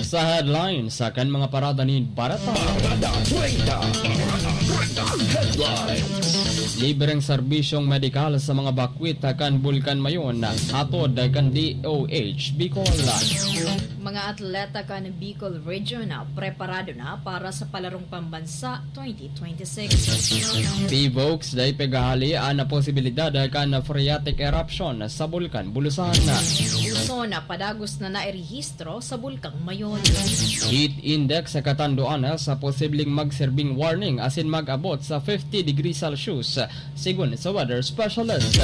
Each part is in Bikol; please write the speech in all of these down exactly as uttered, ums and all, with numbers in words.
Sa headlines, sa kan mga parada nin barata. Parada treinta. Parada treinta. Headlines. Libreng serbisyong medikal sa mga bakwit kan Bulkan Mayon, hatod kan D O H Bicol. Mga atleta kan Bicol Region preparado na para sa palarong pambansa twenty twenty-six. PHIVOLCS, dai paghahalian na posibilidad kan phreatic eruption sa Bulkan Bulusan. Luzon, padagos na nairehistro sa Bulkang Mayon. Heat index sa katanduan sa posibleng magserbing warning asin mag-abot sa fifty degrees Celsius, sigon sa weather specialist.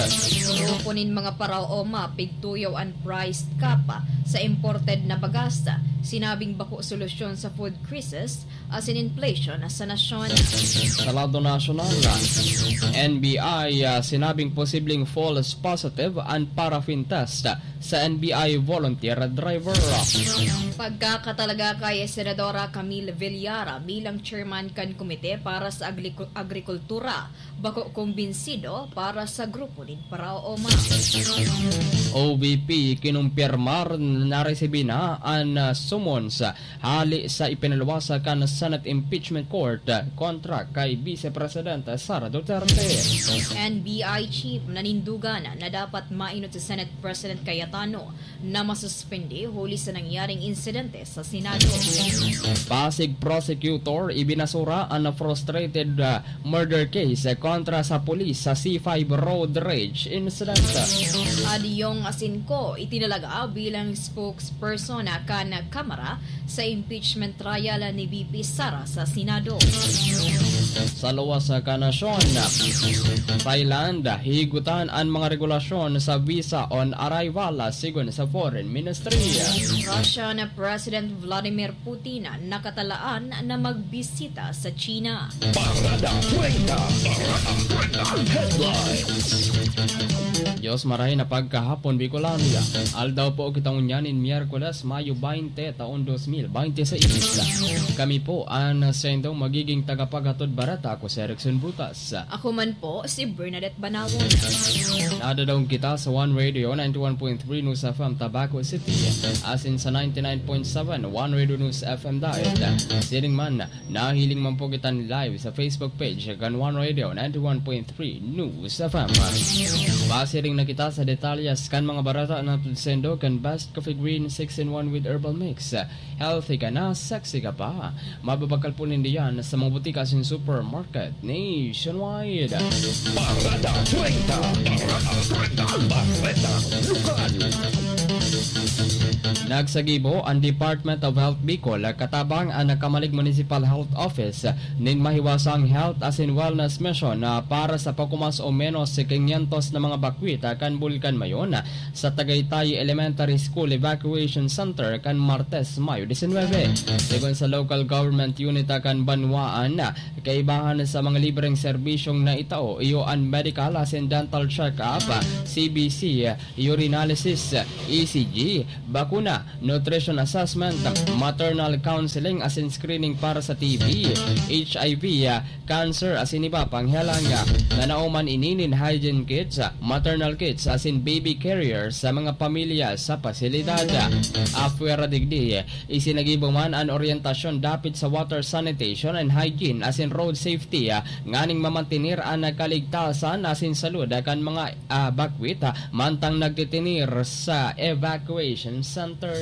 Grupo nin mga paraoma pigtuyaw an price cap sa imported na bagas, sinabing bako solusyon sa food crisis asin inflation sa nasyon. Sa lado nasyonal, N B I, ah, sinabing posibleng false positive an paraffin test sa N B I volunteer driver. Pagkakatalaga kay Senadora Camille Villar bilang chairman kan Komite para sa Agriku-, Agrikultura, bako kumbinsido para sa grupo nin paraoma. O V P, kinumpirmar na naresibi na an, ah, summons hali sa ipinaluwas kan Senate Impeachment Court kontra kay Vice Presidente Sara Duterte. N B I Chief nanindugan na dapat mainot si Senate President Cayetano na masuspende huli sa nangyaring insidente sa Senado. Pasig prosecutor ibinasura an frustrated, ah, murder case kontra sa pulis sa C five road rage incident. Adyong Asinco itinalaga bilang spokesperson kan Kamara sa impeachment trial ni V P Sara sa Senado. Sa luwas kan nasyon, Thailand, higutan an mga regulasyon sa visa on arrival, sigon sa Foreign Ministry. Russian President Vladimir Putin nakatalaan na magbisita sa China. Parada treinta. Parada treinta. Headlines. Diyos, marahay na pagkahapon, Bicolania. Aldaw po kita ngunyan nin Miyerkules, Mayo baynte, taon dos mil baynte seis. Kami po an saindong magiging tagapaghatod bareta. Ako si Erickson Butas. Ako man po, si Bernadette Banawon. Nadadaog kita sa One Radio, ninety-one point three News F M, Tabaco City, asin sa ninety-nine point seven One Radio News F M Daet. Siring man, nahiling man po kita live sa Facebook page kan One Radio, ninety-one point three News F M. Pasiring na kita sa detalyes kan mga bareta na tudsindo kan Best Coffee Green six-in-one with Herbal Mix. Healthy ka na, sexy ka pa. Mababakal po ninda yan sa mga butika asin supermarket nationwide. Parada treinta. Parada treinta. Bareta Lokal. Nagsagibo an Department of Health Bicol katabang an Camalig Municipal Health Office nin mahiwasang health asin wellness mission na para sa pagkumas o menos quinientos na mga bakwit kan Bulkan Mayon sa Tagaytay Elementary School Evacuation Center kan Martes, Mayo disinwebe. Sigon sa local government unit kan banwaan, kaibahan sa mga libreng serbisyong naitao, iyo an medical asin dental check-up, C B C, urinalysis, E C G, bakuna, nutrition assessment, maternal counseling asin screening para sa T B, H I V, cancer asin iba pang helang. Nanao man ini nin hygiene kits, maternal kits asin baby carriers sa mga pamilya sa pasilidad. Apwera digdi, isinagibo man an oryentasyon dapit sa water sanitation and hygiene asin road safety, nganing mamantener an kaligtasan asin salud kan mga, ah, bakwit, ah, mantang nagtitinir sa evacuation centers.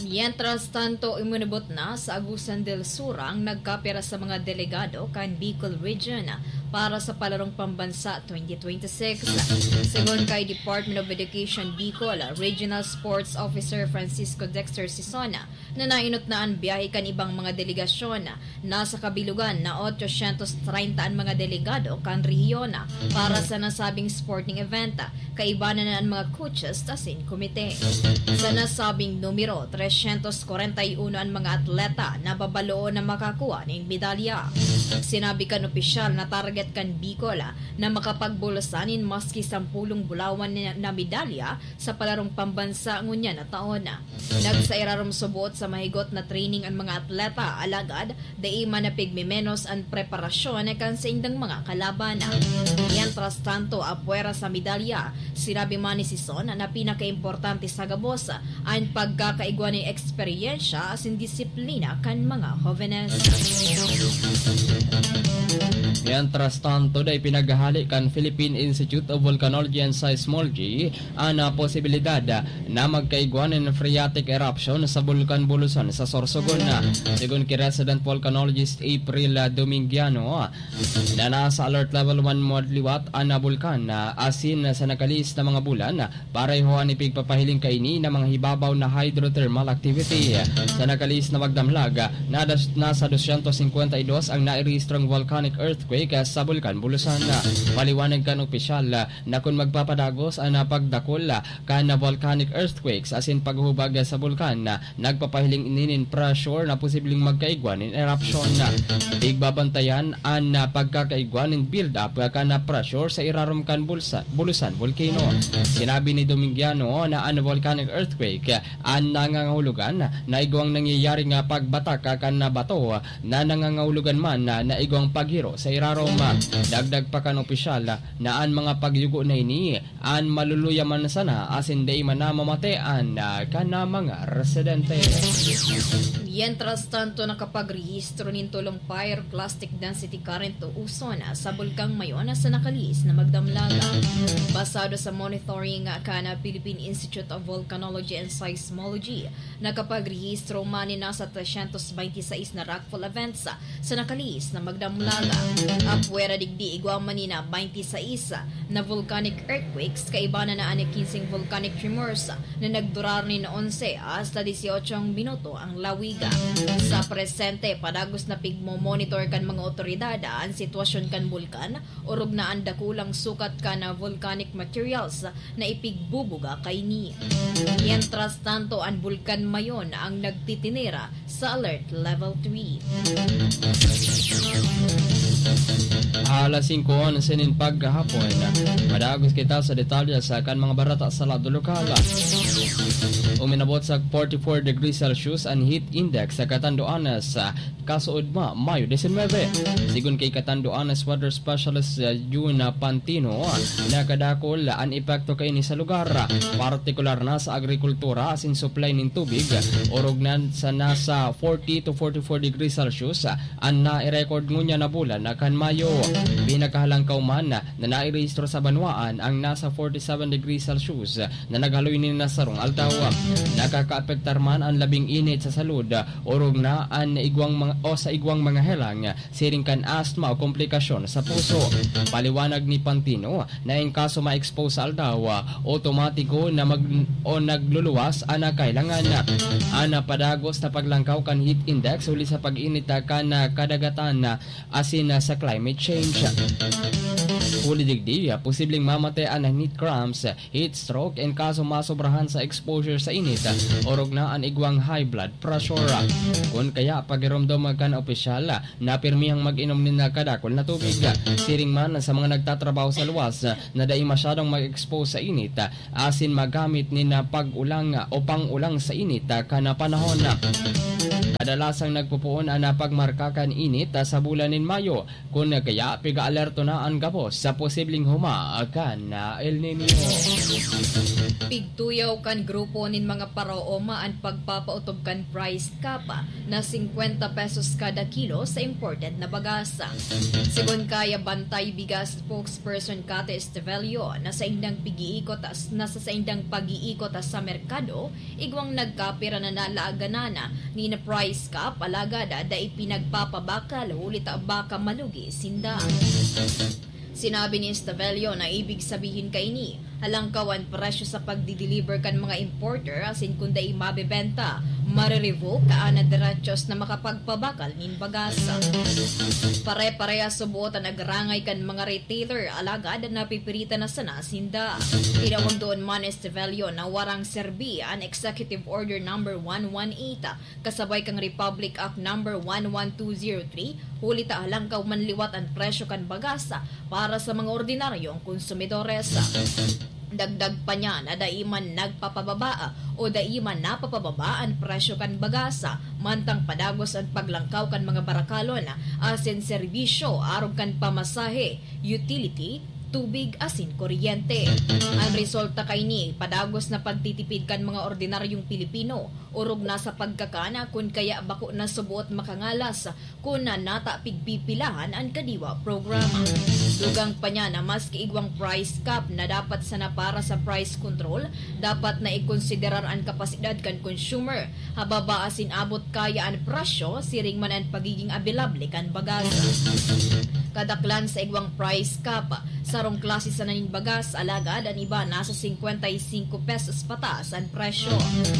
Mientras tanto, iminubot na sa Agusan del Sur ang nagkapira sa mga delegado kan Bicol Region para sa Palarong Pambansa twenty twenty-six. Segun kay Department of Education Bicol Regional Sports Officer Francisco Dexter Sison, na nainot na an biyahe kan ibang mga delegasyon. Nasa kabilugan na otsosyentos treinta an mga delegado kan rehiyon para sa nasabing sporting event. Kaiba na an mga coaches asin komite. Sa nasabing numero, tresyentos kwarenta y uno an mga atleta na babaloon na makakuha nin medalya. Sinabi kan opisyal na target kan Bicol na makapagbulsa nin maski sampulong bulawan na, na medalya sa palarong pambansa ngunyan na taon. Nagsairarom subot sa mahigot na training an mga atleta, alagad dai man napigmemenos an preparasyon kan saindang mga kalaban. Mientras tanto, apwera sa medalya, sinabi man ni Sison na pinakaimportante sa gabos an pagkakaigwa nin eksperyensya asin disiplina kan mga hovenes. Mientras tanto, dai pinaghahali kan Philippine Institute of Volcanology and Seismology an, ah, posibilidad, ah, na magkaigwa nin phreatic eruption sa Bulkan Bulusan sa Sorsogon. Sigon ki resident volcanologist April, ah, Domingiano, ah, na nasa alert level one mo liwat an, ah, bulkan, ah, asin sa nakalihis na mga bulan, ah, pareho an ipigpapahiling kaini na mga hibabaw na hydrothermal activity. Sa nakalihis na magdamlag, ah, nadas-, nasa dosyentos singkwenta y dos ang nairehistrong volcanic earthquake, ah, sa Bulkan Bulusan. Paliwanag kan opisyal, ah, na kun magpapadagos an, ah, pagdakul, ah, kan, ah, volcanic earthquakes asin paghubag, ah, sa bulkan, ah, nagpapahiling ini nin pressure na posibleng magkaigwa nin eruption. Igbabantayan an, ah, pagkakaigwa nin build-up, ah, kan, ah, pressure sa irarom kan bulsa-, Bulusan Volcano. Sinabi ni Domingiano na an volcanic earthquake, ah, an nangangahulugan na igwang nangyayari nga pagbatak, ah, kan, ah, bato, ah, na nangangahulugan man na, na igwang paghiro sa irarom. Dagdag pa kan opisyal na an mga pagyugo na ini an maluluya man sana asin dai man na mamate an, ah, kan, ah, mga residente. Mientras tanto, nakapagrehistro nin tolong pyroclastic density current o uson sa Bulkang Mayon sa nakalihis na magdamlag. Basado sa monitoring kan Philippine Institute of Volcanology and Seismology, nakapagrehistro man nin nasa tresyentos bente y seis na rockfall events sa nakalihis na magdamlag. Apwera digdi, igwa man nin bente y seis na volcanic earthquakes, kaiba na an kinseng volcanic tremors na nagdurar nin onse hasta dieciocho minuto ang lawig. Sa presente, padagos na pigmo-monitor kan mga otoridad an sitwasyon kan bulkan, orog na an dakulang sukat kan volcanic materials na ipigbubuga kaini. Mientras tanto, an Bulkan Mayon ang nagtitinira sa Alert Level three. Alas singko onse nin paghahapon, madagos kita sa detalye sa kan mga bareta sa lado lokal. Uminabot sa forty-four degrees Celsius an heat index sa Catanduanes, kasuodma, Mayo diecinuebe. Sigon kay Catanduanes weather specialist, uh, Jun Pantino, nakadakul an epekto kaini sa lugar, partikular na sa agrikultura asin supply nin tubig, orog na sa nasa forty to forty-four degrees Celsius an nai-record ngunyan na bulan na kan Mayo. Pinakahalangkaw man na nairehistro sa banwaan ang nasa forty-seven degrees Celsius na naghaloy nin na sarong aldaw. Nakakaapektar man an labing init sa salud, orog na an igwang mga, o sa igwang mga helang, siring kan asthma o komplikasyon sa puso. Paliwanag ni Pantino na in kaso ma-expose sa aldaw, otomatiko na mag-, o nagluluwas an kailangan. An padagos na paglangkaw kan heat index huli sa pag-init kan kadagatan asin sa climate change. Huli digdi, posibleng mamate an heat cramps, heat stroke, in kaso masobrahan sa exposure sa init, orog na an igwang high blood pressure. Kun kaya, pagiromdom kan opisyal na pirmihang mag-inom nin kadakul na tubig. Siring man sa mga nagtatrabaho sa luwas na dai masyadong mag-expose sa init, asin magamit nin pag-ulang o pang-ulang sa init kan panahon. Kadalasang nagpupoon an pagmarka kan init sa bulan nin Mayo, kun kaya pig-aalerto na an gabos sa posibleng huma kan El Niño. Pigtuyaw kan grupo nin mga paraoma an pagpapaotob kan price cap na singkwenta pesos kada kilo sa imported na bagas. Sigon kay Bantay Bigas spokesperson Cate Estevelio, na saindang pag-iikot as-, na sa saindang pag-iikot sa merkado, igwang nagkapira na nalaaganan nin price cap, alagad dai pinagpapabakal huli ta baka malugi sinda. Sinabi ni Estevelio na ibig sabihin kaini Halangkaw an presyo sa pagdi-deliver kan mga importer asin kun dai mabebenta, mare-revoke an derechos na makapagpabakal nin bagas. Pare-parehas subot an agrangay kan mga retailer, alagad napipiritan na sana sinda. Tinawag duon man ni Estevelio na warang serbi an Executive Order Number one one eight kasabay kan Republic Act Number one one two zero three, huli ta halangkaw man liwat an presyo kan bagas para sa mga ordinaryong konsumidores. Dagdag pa niya na dai man nagpapababa o dai man napapababa an presyo kan bagas, mantang padagos an paglangkaw kan mga barakalon asin serbisyo arog kan pamasahe, utility, tubig asin kuryente. An resulta kaini, padagos na pagtitipid kan mga ordinaryong Pilipino, orog na sa pagkakan, kun kaya bako na suboot makangalas kun nata pigpipilahan an Kadiwa program. Dugang pa niya na maski igwang price cap na dapat sana para sa price control, dapat na ikonsiderar an kapasidad kan consumer, hababa asin abot kaya an presyo, siring man an pagiging abilable kan bagas. Kadaklan sa igwang price cap, sarong klase sana nin bagas, alagad an iba nasa singkwenta y singko pesos pataas an presyo.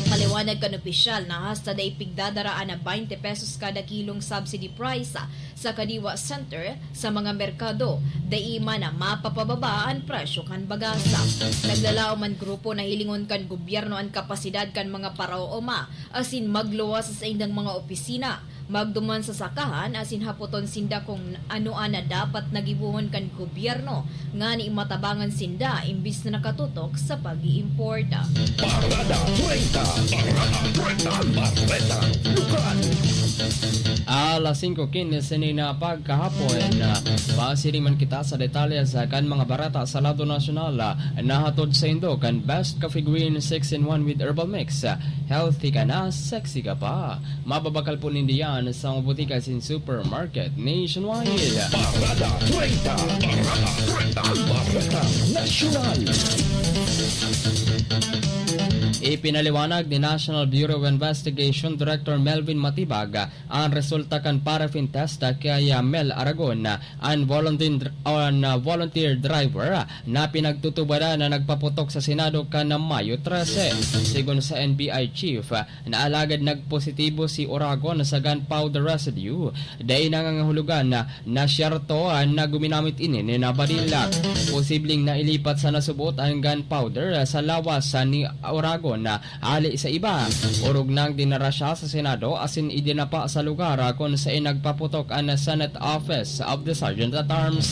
Paliwanag kan opisyal na hasta dai pigdadara an baynte pesos kada kilong subsidy price sa Kadiwa Center sa mga merkado, dai man na mapapababa an presyo kan bagas. Naglalaom an grupo na hilingon kan gobyerno an kapasidad kan mga paraoma asin magluwas sa saindang mga opisina, magduman sa sakahan asin hapoton sinda kun ano an dapat na gibohon kan gobyerno ngani matabangan sinda imbis na nakatutok sa pag-iimporta. Parada treinta. Parada treinta. Bareta. Lokal. Alas singko quince na pagkahapon, pasiring man kita sa detalye sa kan mga bareta sa lado nasyonal. Nahatod saindo kan Best Coffee Green six-in-one with Herbal Mix. Healthy ka na, sexy ka pa. Mababakal po nindo yan sa mga botika asin supermarket nationwide. Parada treinta. Parada treinta. Bareta Nasyonal. Ipinaliwanag ni National Bureau of Investigation Director Melvin Matibag ang resulta kan paraffin test kay Mel Aragon, an volunteer, an volunteer driver na pinagtutubaran na nagpaputok sa Senado kan Mayo trese. Sigon sa N B I chief, na alagad nagpositibo si Oragon sa gunpowder residue, dai nangangahulugan na, na siyerto na guminamit ini nin baril. Posibleng nailipat sa nasuboot an gunpowder sa lawas ni Oragon hali sa iba. Orog nang dinara siya sa Senado asin idinapa sa lugar kun saen nagpaputok an Senate Office of the Sergeant at Arms.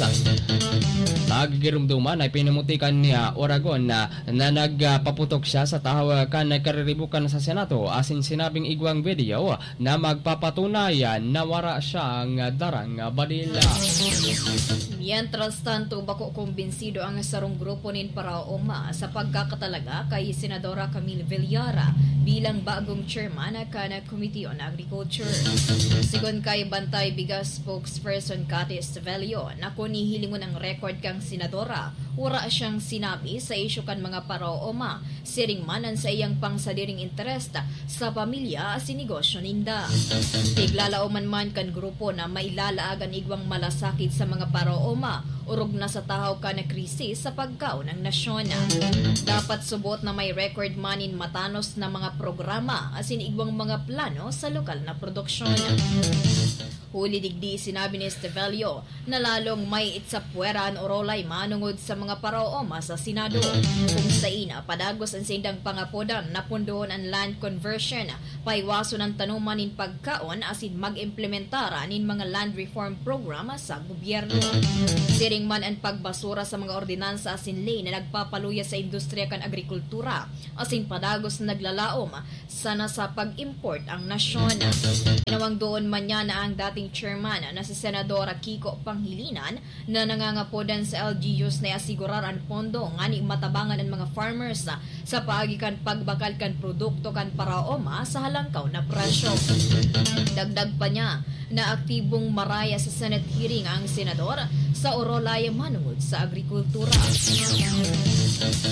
Magigirumduman ay pinamutikan ni Oragon na na nagpaputok siya sa tahaw kan kariribukan sa Senado asin sinabing igwang video na magpapatunay na wara siyang darang baril. Mientras tanto, bako kumbinsido ang sarong grupo nin paraoma sa pagkakatalaga kay Senadora Camille Villar bilang bagong chairman kan Committee on Agriculture. Sigon kay Bantay Bigas spokesperson Cathy Estevelio, na kun hihilingon ang record kan senadora, wara siyang sinabi sa isyu kan mga paraoma, siring man an saiyang pangsadiring interes sa pamilya asin negosyo ninda. Piglalaoman man kan grupo na mailalaag an igwang malasakit sa mga paraoma, orog na sa tahaw kan krisis sa pagkaon ng nasyon. Dapat subot na may record man nin matanos na mga programa asin igwang mga plano sa lokal na produksyon. Huli digdi, sinabi ni Estevelio na lalong may itsapwera an orolay manongod sa mga paraoma sa Senado, kung sain padagos an saindang pangapodan na pondohon an land conversion, paiwason an tanoman nin pagkaon asin mag-implementar nin mga land reform program sa gobyerno. Siring man an pagbasura sa mga ordinansa asin ley na nagpapaluya sa industriya kan agrikultura asin padagos na naglalaom sana sa pag-import ang nasyon. Tinawag duon man niya na ang dating chairman na si Senador Kiko Pangilinan na nangangapodan sa L G Us na iasigurar an pondo ngani matabangan an mga farmers sa paagi kan pagbakal kan produkto kan paraoma sa halangkaw na presyo. Dagdag pa niya, Naaktibong maraya sa Senate hearing ang senador sa Orolay manungod sa agrikultura.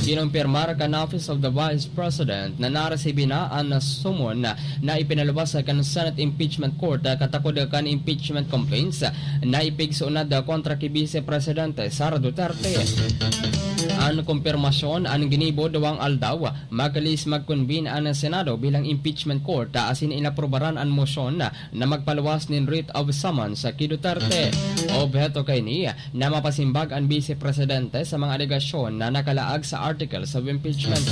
Kinumpirmar kan Office of the Vice President na naresibi na an summon na ipinaluwas kan Senate Impeachment Court katakod kan impeachment complaints na ipigsuunad kontra ki Vice Presidente Sara Duterte. An kumpirmasyon an ginibo duwang aldaw, makalis mag-convene an Senado bilang impeachment court asin inaprobaran an mosyon na magpaluwas nin writ of summons ki Duterte. Obheto kaini na mapasimbag an Vice Presidente sa mga alegasyon na nakalaag sa articles of impeachment.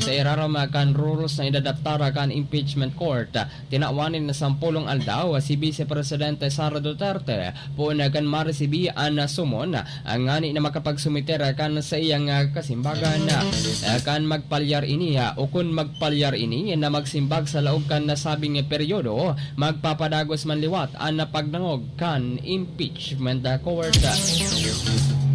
Sa irarom kan rules na inadaptar kan impeachment court, tinawan nin sampolong aldaw si Vice Presidente Sara Duterte poon kan maresibi an summon ngani na makapagsumiter kan saiyang kasimbagan. Kan magpalyar ini o kun magpalyar ini na magsimbag sa laog kan nasabing peryodo, magpapadagos man liwat an pagdangog kan impeachment court.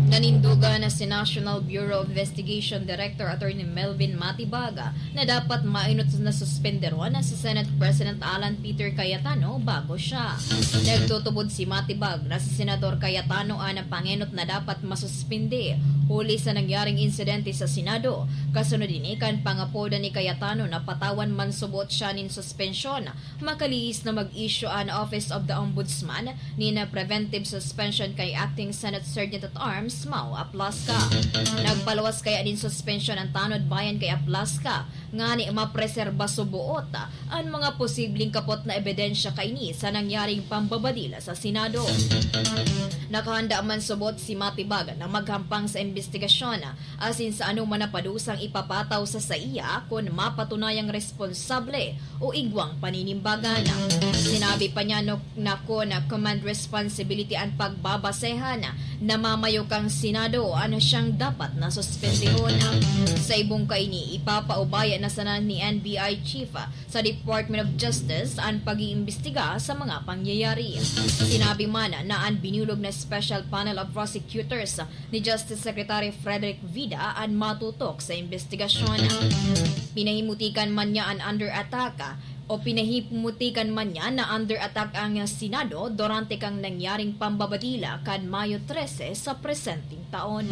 Nanindugan na si National Bureau of Investigation Director Attorney Melvin Matibag na dapat maenot na suspenderon si Senate President Alan Peter Cayetano bago siya. Nagtutubod si Matibag na si Senador Cayetano an pangenot na dapat masuspende huli sa nangyaring insidente sa Senado. Kasunod ini kan pangapoda ni Cayetano na patawan man subot siya nin suspensyon, makalihis na mag-issue an Office of the Ombudsman nin preventive suspension kay Acting Senate Sergeant at Arms Mau Aplasca. Nagpaluwas kaya nin suspensyon an tanod bayan kay Aplasca ngani mapreserba suboot an mga posibleng kapot na ebidensya kaini sa nangyaring pambabadil sa Senado. Nakahanda man subot si Matibag na maghampang sa imbestigasyon asin sa anoman na padusang ipapataw sa saiya kun mapatunayang responsable o igwang paninimbagan. Sinabi pa niya no, na kun command responsibility an pagbabasehan, namamayo kang Senado an siyang dapat na suspendehon. Sa ibong kaini, ipapaubaya na sana ni N B I Chief sa Department of Justice an pag-iimbestiga sa mga pangyayari. Sinabi man na an binulog na Special Panel of Prosecutors ni Justice Secretary Frederick Vida an matutok sa imbestigasyon. Pinahimutikan man niya an under attack o pinahimutikan man niya na under attack ang Senado durante kang nangyaring pambabadila kan Mayo trese sa presenteng taon.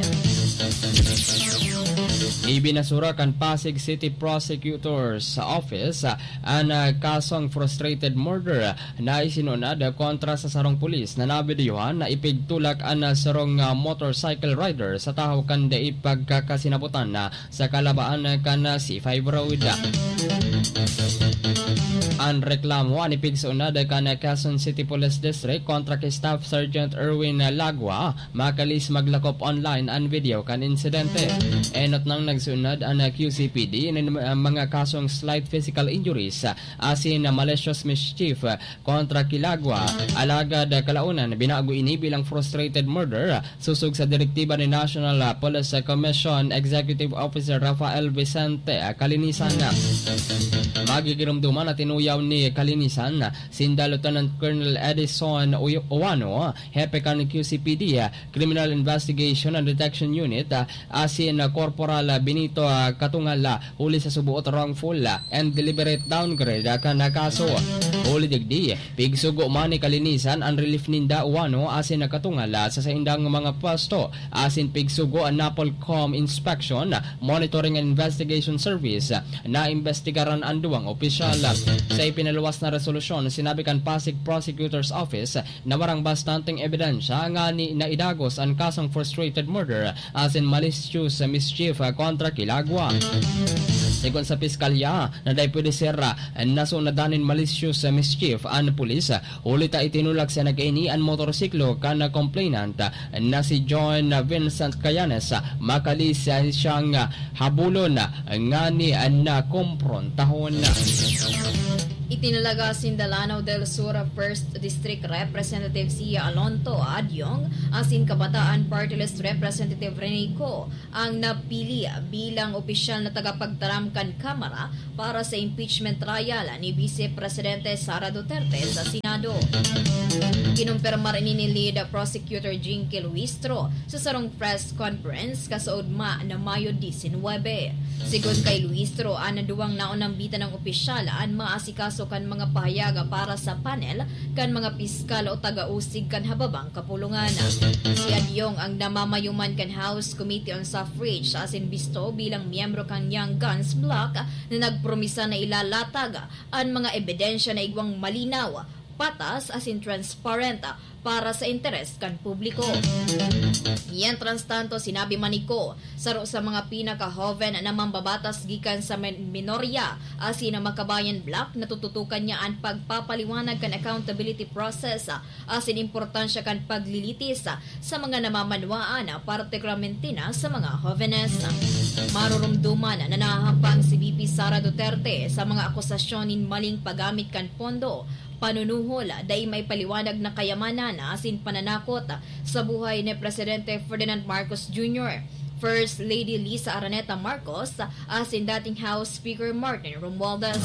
Ibinasura kan Pasig City Prosecutor's Office an, ah, kasong frustrated murder na isinunod kontra sa sarong pulis na nabidyohan na ipigtulak an, ah, sarong, ah, motorcycle rider sa tahaw kan dai pagkakasinabutan na sa kalabaan kan C five Road. An reklamo an ipigsunod kan Quezon City Police District kontra kay Staff Sergeant Erwin Lagua, makalis maglakop online an video kan insidente. Enot nang nagsunod an Q C P D nin mga kasong slight physical injuries asin malicious mischief kontra ki Lagua. Alagad kalaonan, binago ini bilang frustrated murder sosog sa direktiba ni National Police Commission Executive Officer Rafael Vicente Calinisan. Magigiromdoman na tinuyaw ni Calinisan sinda Lieutenant Colonel Edison Uy-, Uwano, hepe kan Q C P D, Criminal Investigation and Detection Unit, asin Corporal Benito Katungal, huli sa suboot wrongful and deliberate downgrade kan kaso. Huli digdi, pigsugo man ni Calinisan an relief ninda Uwano asin Katungal sa saindang mga pwesto, asin pigsugo an NAPOLCOM inspection, monitoring and investigation service. Naimbestigaran an duwang opisyal. Sa ipinaluwas na resolusyon, sinabi kan Pasig Prosecutor's Office na warang bastanteng ebidensya ngani na idagos an kasong frustrated murder asin malicious mischief kontra ki Lagua. Segun sa piskalya, na dai pwede ser nasunadan nin malicious mischief an pulis, huli ta itinulak sa nag-ini an motorsiklo kan complainant na si John Vincent Cayanes, makalis siyang habulon ngani na kompron tahon. Itinalaga sinda Lanao del Sur First District Representative Sia Alonto Adyong asin Kabataan Party List Representative Rene Co ang napili bilang opisyal na tagapagtaram kan Kamara para sa impeachment trial ni Vice Presidente Sara Duterte sa Senado. Kinumpirmar ini ni Lead Prosecutor Jinky Luistro sa sarong press conference kasaugma na Mayo disinwebe. Sigon kay Luistro, an duwang naunang bitanang opisyal an maasikaso kan mga pahayag para sa panel kan mga piskal o taga-usig kan hababang kapulungan. Si Adyong ang namamayo man kan House Committee on Suffrage asin bisto bilang miyembro kan Young Guns Bloc na nagpromisa na ilalatag an mga ebidensya na igwang malinaw, patas asin transparent para sa interes kan publiko. Mientras tanto, sinabi man ni Kho, saro sa mga pinakahoven na mambabatas gikan sa men-, minorya asin ang Makabayan Bloc, natututukan niya an pagpapaliwanag kan accountability process asin importansya kan paglilitis sa mga namamanwaan, partikularmente na sa mga hovenes. Marurumduman na nahahampang si V P Sara Duterte sa mga akusasyon nin maling paggamit kan pondo, panunuhol, dai maipaliwanag na kayamanan asin pananakot sa buhay ni Presidente Ferdinand Marcos Junior, First Lady Liza Araneta Marcos, asin dating House Speaker Martin Romualdez.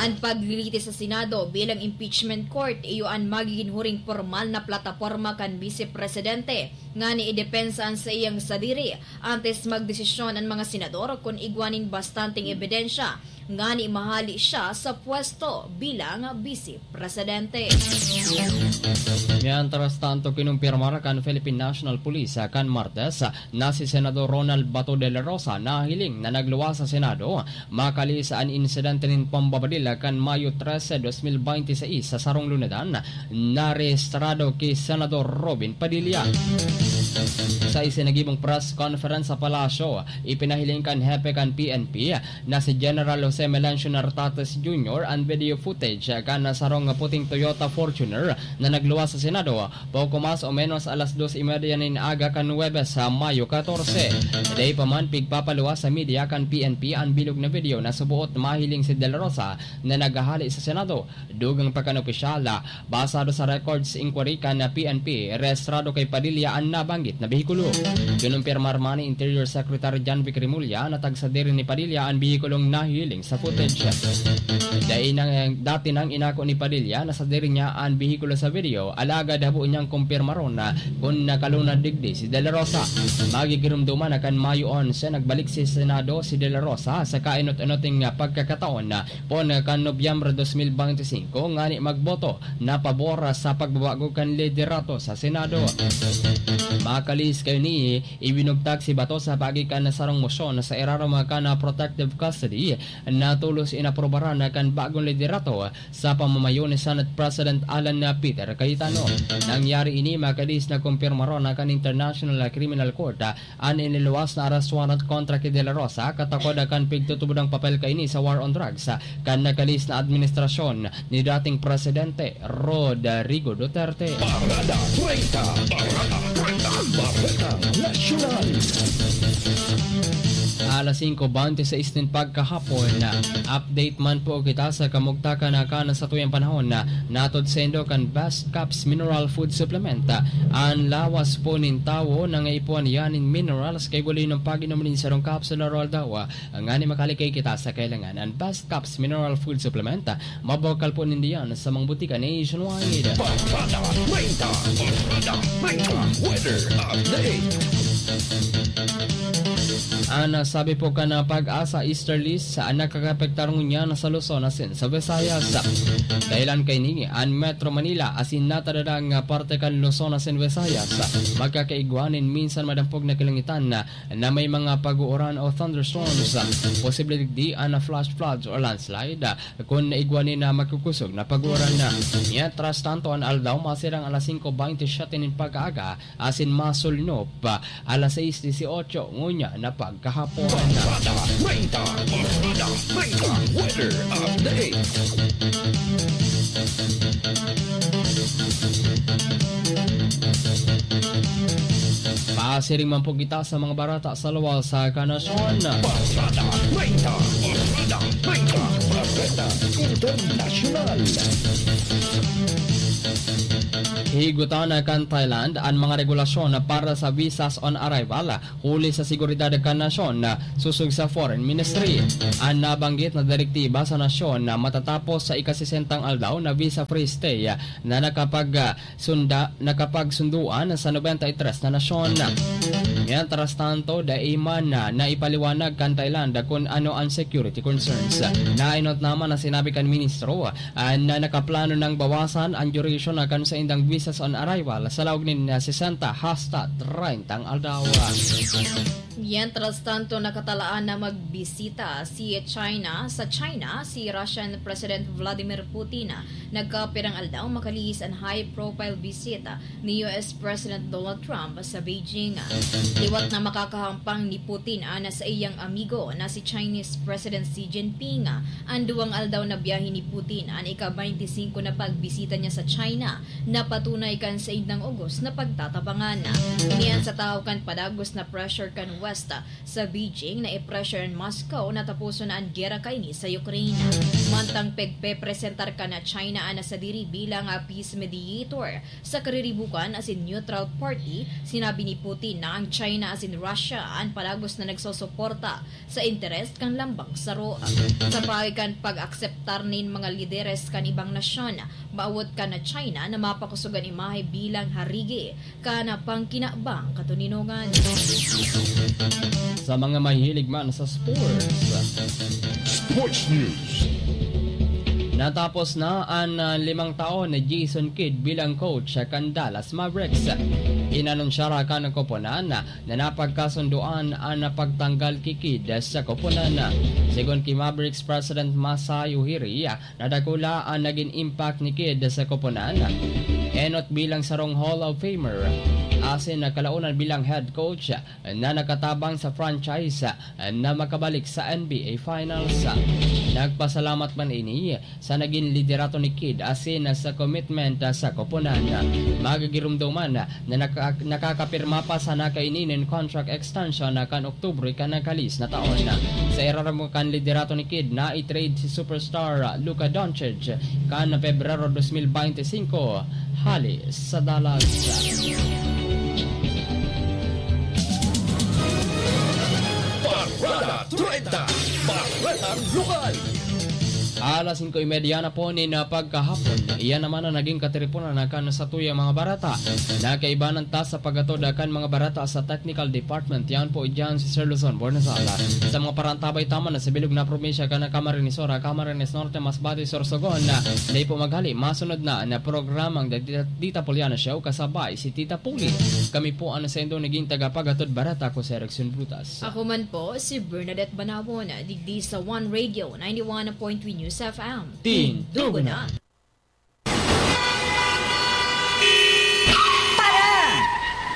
An paglilitis sa Senado bilang impeachment court iyo an magigin huring pormal na plataporma kan Bise Presidente ngani idepensa an saiyang sadiri antes magdesisyon an mga senador kun igwa nin bastanteng ebidensya ngani mahali siya sa pwesto bilang Bise Presidente. Mientras tanto, kinumpirmar kan Philippine National Police, ah, kan Martes, ah, na si Senador Ronald Bato de la Rosa nahiling na nagluwas sa Senado, makali sa an insidente nin pambabadil kan Mayo trese, dos mil binte seis, sa sarong lunadan na rehistrado ki Senador Robin Padilla. Sa isinagibong press conference sa Palasyo, ipinahiling kan hepe kan P N P na si General Jose Melancio Nartates Junior an video footage kan sarong puting Toyota Fortuner na nagluwas sa Senado poko mas o menos alas dos y media nin aga kan Huwebes, sa Mayo katorse. Dai pa man pigpapaluwas sa media kan P N P an bilog na video na suboot mahiling si De La Rosa na naghahali sa Senado. Dugang pa kan opisyal, basado sa records inquiry kan P N P, rehistrado kay Padilla an nabanggit na behikulo. Kinumpirmar man ni Interior Secretary John Vic Remulla na tagsadiri ni Padilla an behikulong nahiling sa footage. Dai nang, dati nang inako ni Padilla na sadiri niya an behikulo sa video, alagad habo niyang kumpirmaron na kun nakalunad digdi si De La Rosa. Magigiromdoman na kan Mayo onse, nagbalik si Senado si De La Rosa sa kainot-inoting pagkakataon, poon kan Nobyembre dos mil bente singko, ngani magboto na pabor sa pagbabago kan liderato sa Senado. Makalis kaini, ibinugtak si Bato sa paagi kan sarong mosyon sa irarom kan protective custody na tolos inaprobaran kan bagong liderato sa pamamayo ni Senate President Alan Peter Cayetano. Nangyari ini, makalis na kumpirmaron na kan International Criminal Court an iniluwas na arrest warrant kontra ki De La Rosa, katakod kan pigtutubod ang papel kaini sa war on drugs kan nakalis na administrasyon ni dating Presidente Rodrigo Duterte. Parada treinta, Parada treinta, Bareta Nasyonal. Alas singko bente seis nin pagkahapon, update man po kita sa kamugtakan na kan satuyang panahon na natod saindo kan Best Caps Mineral Food Supplement. An lawas po nin tawo nangaipuhan yan nin minerals kay guli ng pag-inom nin sarong capsule aroaldaw. Ngani makalikay kita sa kailangan. An Best Caps Mineral Food Supplement, mabakal po nindiyan sa mga butika nationwide. Barkada treinta, Barkada treinta, weather update. An sabi po kan PAGASA Easterlies, an nakakapektar ngunyan sa Luzon asin sa Visayas. Dahilan kaini, an Metro Manila asin natadadang parte kan Luzon asin Visayas magkakaigwa nin minsan madampog na kalangitan na may mga pag-uuran o thunderstorms. Posible digdi an flash floods or landslide kun igwa nin magkukusog na pag-uuran. Mientras tanto, an aldaw masirang alas singko bente siyete nin pag-aaga asin masulnop alas sais dieciocho ngunyan na pagkahapon. Barkada treinta, Barkada treinta, weather update. Pasiring man po kita sa mga bareta sa luwas kan nasyon. Barkada treinta, Barkada treinta, Bareta Internasyonal. Higutan kan Thailand an mga regulasyon para sa visas on arrival, huli sa seguridad kan nasyon, sosog sa Foreign Ministry. An nabanggit na direktiba sa nasyon na matatapos sa ikasesentang aldaw na visa-free stay na nakapag, sunda-, nakapagsunduan sa nobenta y tres na nasyon. Mientras tanto, dai man na naipaliwanag kan Thailand kun ano an security concerns. Naenot naman na sinabi kan ministro, ah, na nakaplano nang bawasan an duration na kan saindang visas on arrival sa laog nin, ah, sesenta hasta treinta aldaw. Mientras tanto, nakatalaan na magbisita si China, sa China, si Russian President Vladimir Putin. Nagkapirang aldaw makalihis an high-profile bisita ni U S President Donald Trump sa Beijing. Liwat na makakahampang ni Putin an saiyang amigo na si Chinese President Xi Jinping. An duwang aldaw na biyahe ni Putin, an ika-twenty-five na pagbisita niya sa China, napatunay kan saindang ugos na pagtatabangan. Ini an sa tahaw kan padagos na pressure kan West sa Beijing na i-pressure an Moscow na taposon na an gera kaini sa Ukraine. Mantang pagpepresentar kan China an sadiri bilang, ah, peace mediator sa kariribukan asin neutral party, sinabi ni Putin na ang China asin Russia an padagos na nagsusuporta sa interes kan lambang saro. Sa paagi kan pag-akseptar nin mga lideres kan ibang nasyon, maawot kan China na mapakosog an imahe bilang harigi kan pangkinabang katoninongan. Sa mga mahilig man sa sports. Sports News. Natapos na an, ah, limang taon ni Jason Kidd bilang coach kan Dallas Mavericks. Inanunsyara kan koponan na napagkasundoan an pagtanggal ki Kidd sa koponan. Segun ki Mavericks President Masai Ujiri, nadakula an nagin impact ni Kidd sa koponan. Enot bilang sarong Hall of Famer, asin kalaonan bilang head coach na nakatabang sa franchise na makabalik sa N B A Finals. Nagpasalamat man ini sa nagin liderato ni Kidd asin sa commitment sa koponan. Magigiromdoman na naka-, nakakapirma pa sana kaini nin contract extension na kan Oktubre kan nagkalis na taon. Sa irarom kan liderato ni Kidd, na-i-trade si superstar Luka Doncic kan Pebrero dos mil bente singko hali sa Dallas. Parada treinta, Baretang Lokal. Alas singko y media na po nin, ah, pagkahapon. Iyan naman ang naging katiriponan na kan satuyang mga barata. Nakaibanan ta sa paghatod kan mga barata sa technical department. Yan po dyan si Sir Luzon Bornazal. Sa mga parantabay taman na sa bilog na probinsya kan Camarines Sur, Camarines Norte, Masbate, Sorsogon, na dai po maghali, masunod na na programang The Tita, Tita Poliana Show kasabay si Tita Puli. Kami po ang saindo naging tagapaghatod barata, ako si Erickson Brutas. Ako man po si Bernadette Banawon, digdi sa One Radio ninety-one point three News F M. Tindugo na! Para!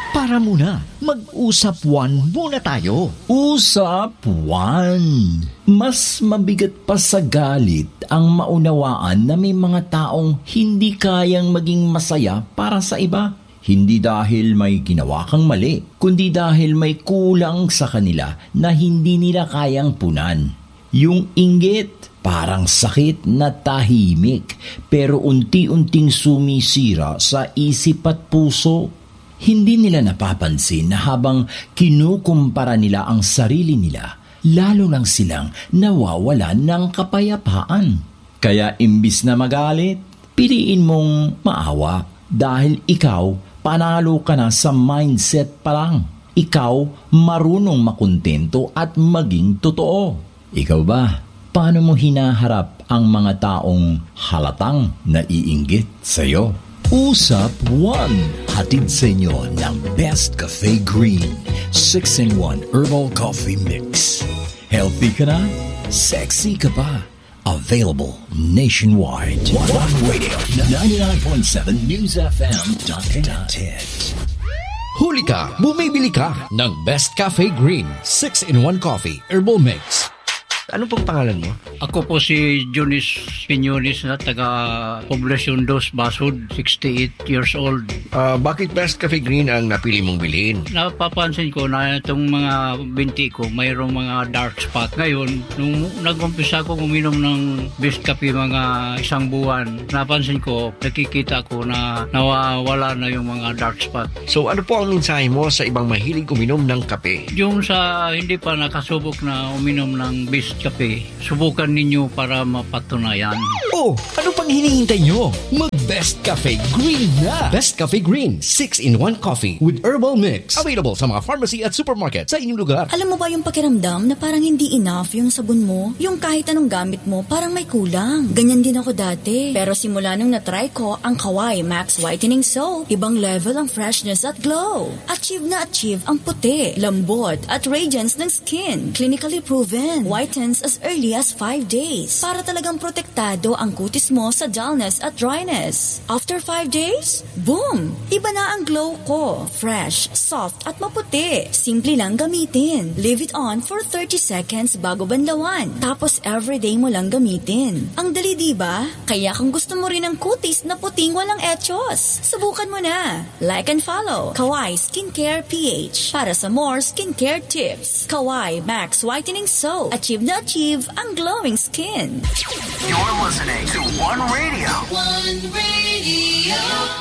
Para muna, mag-usap one muna tayo. Usap one. Mas mabigat pa sa galit ang maunawaan na may mga taong hindi kayang maging masaya para sa iba. Hindi dahil may ginawa kang mali, kundi dahil may kulang sa kanila na hindi nila kayang punan. Yung inggit, parang sakit na tahimik, pero unti-unting sumisira sa isip at puso. Hindi nila napapansin na habang kinukumpara nila ang sarili nila, lalo lang silang nawawalan ng kapayapaan. Kaya imbis na magalit, piliin mong maawa dahil ikaw, panalo ka na sa mindset pa lang. Ikaw, marunong makontento at maging totoo. Ikaw ba? Paano mo hinaharap ang mga taong halatang naiinggit sa'yo? Usap One, hatid sa inyo ng Best Cafe Green, six-in-one Herbal Coffee Mix. Healthy ka na? Sexy ka pa? Available nationwide. One Radio, ninety-nine point seven News F M dot net. Huli ka, bumibili ka ng Best Cafe Green, six-in-one Coffee, Herbal Mix. Ano pong pangalan mo? Ako po si Jonis Piñones na taga Poblacion Dos, Basud, sixty-eight years old. Ah, bakit Best Cafe Green ang napili mong bilhin? Napapansin ko na itong mga binti ko, mayroong mga dark spot. Ngayon, nung nag-umpisa akong uminom ng Best Cafe mga isang buwan, napansin ko, nakikita ko na nawawala na yung mga dark spot. So, ano po ang mensahe mo sa ibang mahilig uminom ng kape? Yung sa hindi pa nakasubok na uminom ng Best Kape. Subukan ninyo para mapatunayan. Oh, ano pang hinihintay nyo? Mag Best Cafe Green na! Best Cafe Green, six-in-one coffee with herbal mix. Available sa mga pharmacy at supermarket sa inyong lugar. Alam mo ba yung pakiramdam na parang hindi enough yung sabon mo? Yung kahit anong gamit mo, parang may kulang. Ganyan din ako dati. Pero simula nung na-try ko ang Kawai Max Whitening Soap, ibang level ang freshness at glow. Achieve na achieve ang puti, lambot, at radiance ng skin. Clinically proven. Whitens as early as five days. Para talagang protektado ang kutis mo sa dullness at dryness. After five days, boom! Iba na ang glow ko. Fresh, soft, at maputi. Simple lang gamitin. Leave it on for thirty seconds bago banlawan. Tapos everyday mo lang gamitin. Ang dali, di ba? Kaya kung gusto mo rin ang kutis na puting walang echos, subukan mo na. Like and follow Kawai Skincare P H para sa more skincare tips. Kawai Max Whitening Soap. Achieve na achieve ang glowing skin. You're listening to One Radio.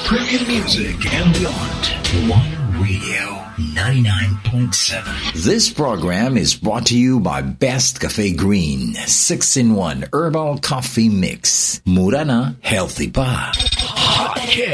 Premium music and beyond. One Radio ninety-nine point seven. This program is brought to you by Best Cafe Green six-in-one Herbal Coffee Mix. Mura na, healthy pa. Hot Hit.